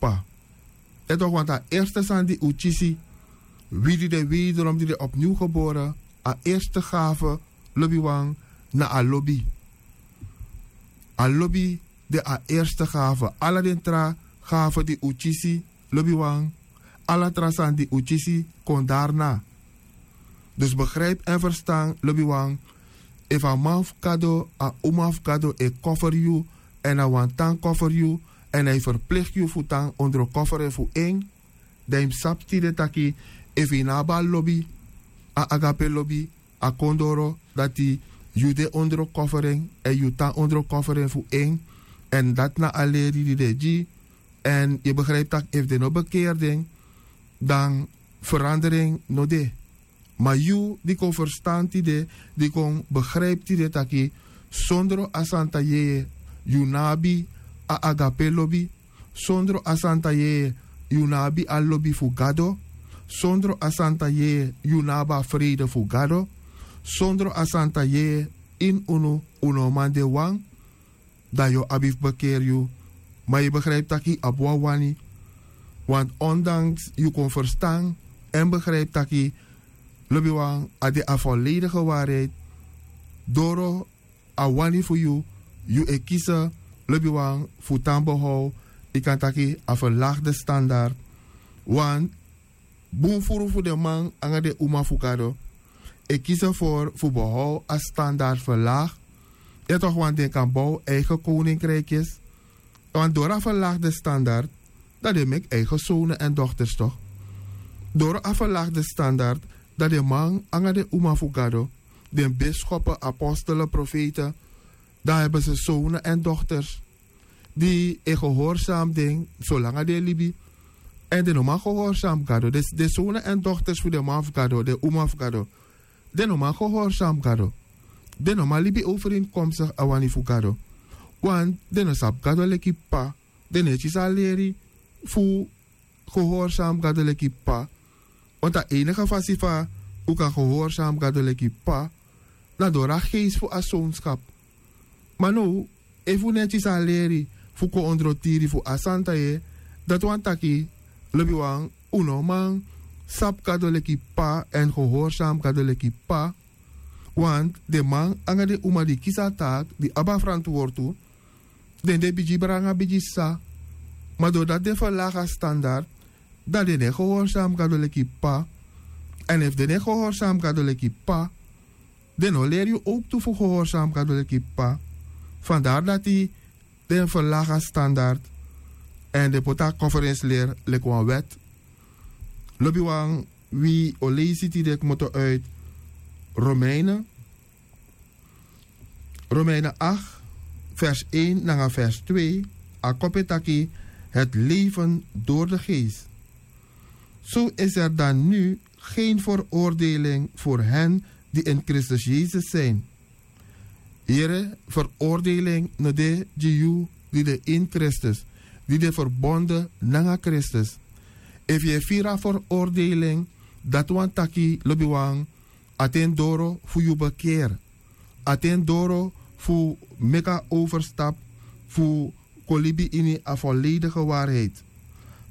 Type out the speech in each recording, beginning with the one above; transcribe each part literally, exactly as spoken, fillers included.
kpa. Èn tok' wantu a erste sani di un kisi, wi di de wederom di de opniw gebore, a erste gafe, lobiwan, na a lobi. A lobi de a erste gafe. Ala den tra gafe di un kisi, lobiwan, ala tra sani di un kisi kon dari na. Dus begripi èn ferstan, lobiwan, efu a man fu gado, a uma fu gado e koferi yu, èn a wani tan koferi yu, èn a e ferplegi yu fu tan ondro koferi fu en, dan yu mus sabi tide taki, efu yu no abi a lobi, a agape lobi, a kon doro dati yu de ondro koferi en èn yu tan ondro koferi en fu en. Èn dati na a leri di den e gi. Èn yu e begripi tak' efu den no bekeri den, dan feranderi en no de. Ma yu di kon ferstan tide, di kon begripi tide taki, sondro a santa yeye, yu no abi a agape lobi. Sondro a santa yeye, yu no abi a lobi fu gado. Sondro a santa yeye, yu no abi a freide fu gado. Sondro a santa yeye, ini unu, un no o man de wan. Dan yu o abi fu bekeri yu. Ma yu e begripi taki yu abi wan wani. Want ondanks yu kon ferstan èn begripi taki, lobiwan, a de a volledige waarheid, doro a wani fu yu, yu e kisi, lobiwan, fu tan behow, yu kan taki a verlagi de standard. Want bun furu fu den man nanga den uma fu gado e kisi fu behow a standard verlagi. Yu e tok' want den kan bow eigen koninkrikes. Want doro a verlagi de standard, dan den meki eigen sone èn dokters tok'. Doro a verlagi de standard, dan den man nanga den uma fu gado, den biskopu, apostelen, profeten, dan hebi se sone èn dokters di e gehorsami den solanga den e libi. Èn den no man gehorsami gado. Den sone èn dokters fu den man fu gado, den uma fu gado, den no man gehorsami gado. Den no man libi overeenkomstigi a wani fu gado. Want den no sabi gado leki p'pa. Den no e kisi a leri fu gehorsami gado leki p'pa. Want a enige fasi fa un kan gehorsami gado leki p'pa, na doro a geesi fu a sonskap. Ma now, efu un no e kisi a leri fu kon ondro tiri fu a santa yeye, dati wani taki, lobiwan, un no man sabi gado leki p'pa èn gehorsami gado leki p'pa. Want den man nanga den uma di kisi a taaki, di abi a ferantwortu, den de bigi brada nanga bigi sisa. Ma doro dati den ferlagi a standard, dan den no e gehorsami gado leki p'pa. Èn efu den no e gehorsami gado leki p'pa, den no leri yu owktu fu gehorsami gado leki p'pa. Fandari dati den ferlagi a standard èn den poti a konferensileri leki wan wèt. Lobiwan, wi o leisi tide kmoto uit Romeinen, Romeinen acht, vers één nanga vers twee, a kopu e taki: het leven door de geest. Zo is er dan nu geen veroordeling voor hen die in Christus Jezus zijn. Yere, veroordeling no de gi yu di de ini Kristus, di de ferbonde nanga Kristus. Efu yu e firi a veroordeling, dati wani taki, lobiwan, a ten doro fu yu bekeri. A ten doro fu meki a overstap fu kon libi ini a volledige waarheid.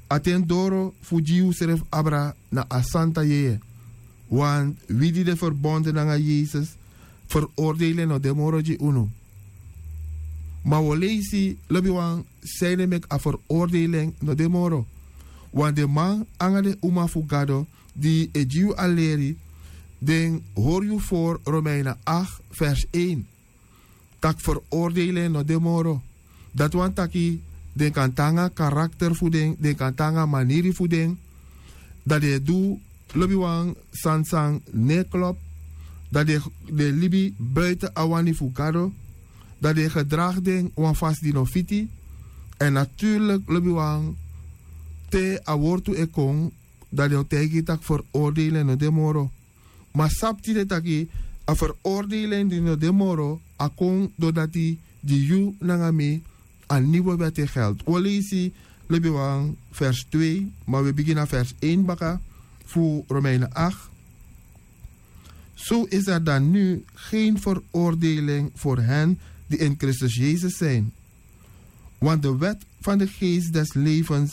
A ten doro fu gi yusrefi abra na a santa yeye. Want wi di de ferbonde nanga Yesus, veroordeling no de moro gi unu. Ma wi o leisi, lobiwan, san e meki a veroordeling no de moro. Want den man nanga den uma fu Gado di e gi yu a leri, den hori yu voor Romeinen acht vers één. Tak' veroordeling no de moro. Dati wani taki den kan tan nanga karakter fu den, den kan tan nanga maniri fu den. Dan den e du, lobiwan, sani san no e klopu. Dan den e libi buiten a wani fu Gado. Dan den e gedragi den wan fasi di no fiti. Èn natuurlik, lobiwan, te a wortu e kon, dan den o taigi yu tak' veroordeling no de moro. Ma sabi tide taki a veroordeling di no de moro, a kon dori dati gi yu nanga mi a nieuwe wet e geldi. Wi o leisi, lobiwan, vers twee, ma wi e bigin na vers één baka fu Romeinen acht. Zo is er dan nu geen veroordeling voor hen die in Christus Jezus zijn. Want de wet van de geest des levens